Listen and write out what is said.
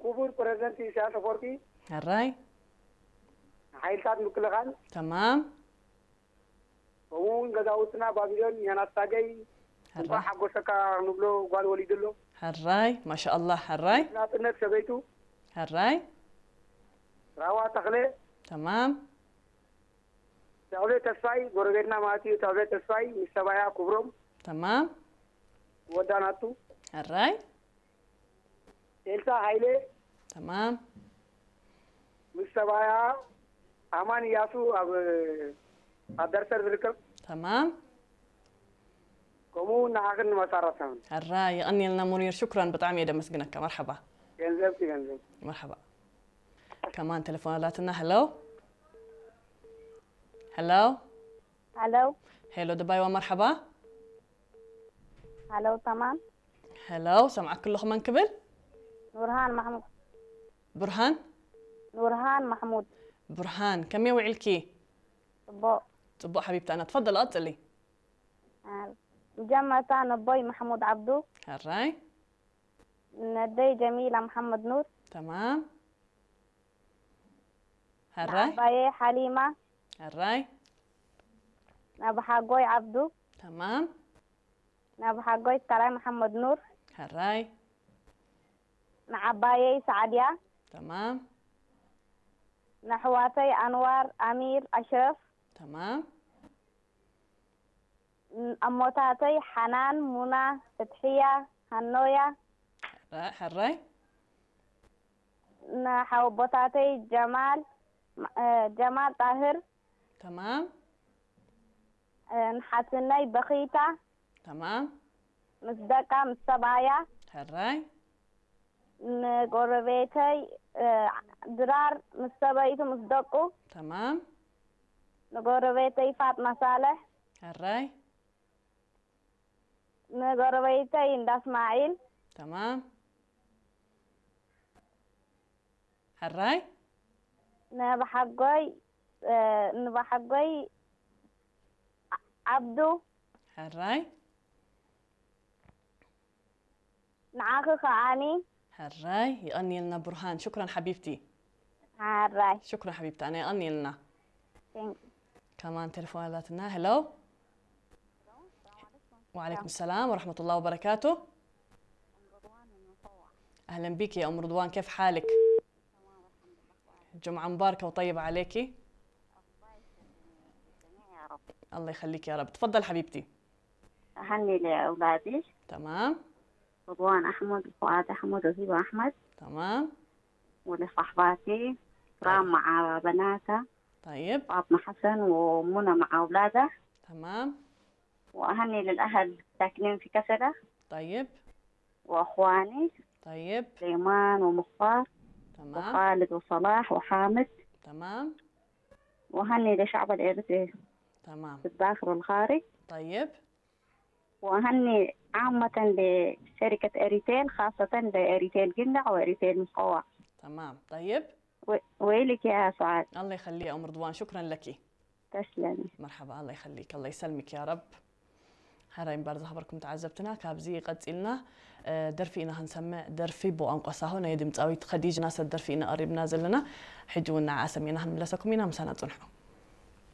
ክቡር ፕረዚደንት ኢሳያስ ኣፈወርቂ፣ ሕራይ ሓይልታት ምክልኻል፣ ተማም ከምኡ እውን ገዛውትና ባቢሎን፣ ዮናስ ታገይ፣ እንኳዕ ሓጎሰካ ንብሎ፣ ጓል ወሊዱ ኣሎ። ሕራይ ማሻኣላህ ሕራይ ናጽነት ሰበይቱ ሕራይ ራዋ ተኽለ፣ ተማም ተኽለ ተስፋይ፣ ጎረቤትና ማለት እዩ። ተኽለ ተስፋይ ምስ ሰባያ ክብሮም ተማም ወዳ ናቱ፣ ሕራይ ኤልሳ ሃይለ ተማም ምስ ሰባያ፣ ኣማን እያሱ ኣብ ኣብ ደርሰር ዝርከብ፣ ተማም ከምኡ እውን ንዓኽን ንመሳረታውን ሕራይ የቐንየልና ሙኒር ሽኩራን ብጣዕሚ እየ ደመስግነካ መርሓባ ገንዘብ ቲ ገንዘብ መርሓባ ከማን ቴሌፎን ኣላትና ሄሎ ሄሎ ሄሎ ሄሎ ድባይዋ መርሓባ ሄሎ ተማም ሄሎ ሰምዓክ ኣለኹ መን ክብል ኑርሃን ማሕሙድ ብርሃን ኑርሃን ማሕሙድ ብርሃን ከመይ ውዒልኪ ጽቡቕ ጽቡቕ ሓቢብታና ትፈደል ቀጽሊ መጀመርታ ነቦይ ማሕሙድ ዓብዱ ሕራይ ነደይ ጀሚላ መሓመድ ኑር ተማም ሕራይ ንዓባየ ሓሊማ ሕራይ ናብ ሓጎይ ዓብዱ ተማም ናብ ሓጎይ ካልኣይ መሓመድ ኑር ሕራይ ንዓባየይ ሳዕድያ ተማም ንኣሕዋተይ ኣንዋር ኣሚር ኣሽረፍ ተማም ኣሞታተይ ሓናን ሙና ፍትሕያ ሃኖያ ሕራይ ንሓወቦታተይ ጀማል ጀማል ጣህር ተማም ንሓትነይ በኺታ ተማም ምስ ደቃ ምስ ሰብኣያ ሕራይ ንጎረቤተይ ድራር ምስ ሰበይቱ ምስ ደቁ ተማም ንጎረቤተይ ፋጥማ ሳልሕ ሕራይ ንጎረቤተይ እንዳ እስማዒል ተማም ሕራይ ንባሓጎይ ንባሓጎይ ዓብዱ ሕራይ ንዓኺ ከዓኒ ሕራይ ይቐንየልና ብርሃን ሽኩራን ሓቢብቲ ሓራይ ሽኩራን ሓቢብቲ ኣነ ይቐንየልና Thank you. ከማን ቴሌፎን ኣላትና ሄሎ وعليكم السلام ورحمة الله وبركاته أهلا بك يا أم رضوان كيف حالك جمعة مباركة وطيبة عليك الله يخليك يا رب تفضل حبيبتي أهني لأولادي تمام رضوان أحمد وفؤاد أحمد وهبة أحمد تمام ولصحباتي كرام مع بناتها طيب فاطمة حسن ومنى مع أولادها تمام وأهني للأهل ساكنين في كسلة طيب وأخواني طيب سليمان ومختار تمام وخالد وصلاح وحامد تمام وأهني للشعب الإريتري تمام في الداخل والخارج طيب وأهني عامة لشركة إريتيل، خاصة لإريتيل جندع وإريتيل مقوع. تمام طيب و- وإلك يا سعاد. الله يخلي أم رضوان شكرا لك تسلمي. مرحبا الله يخليك الله يسلمك يا رب ሕራይ እምበር ዝኸበርኩም ተዓዘብትና ካብዚ ቀፂልና ደርፊ ኢና ክንሰምዕ ደርፊ ብቋንቋ ሳሆ ናይ ድምፃዊት ኸዲጅ ናሰር ደርፊ ኢና ቀሪብና ዘለና ሕጂ እውን ንዓ ሰሚዕና ክንምለሰኩም ኢና ምሳና ፅንሑ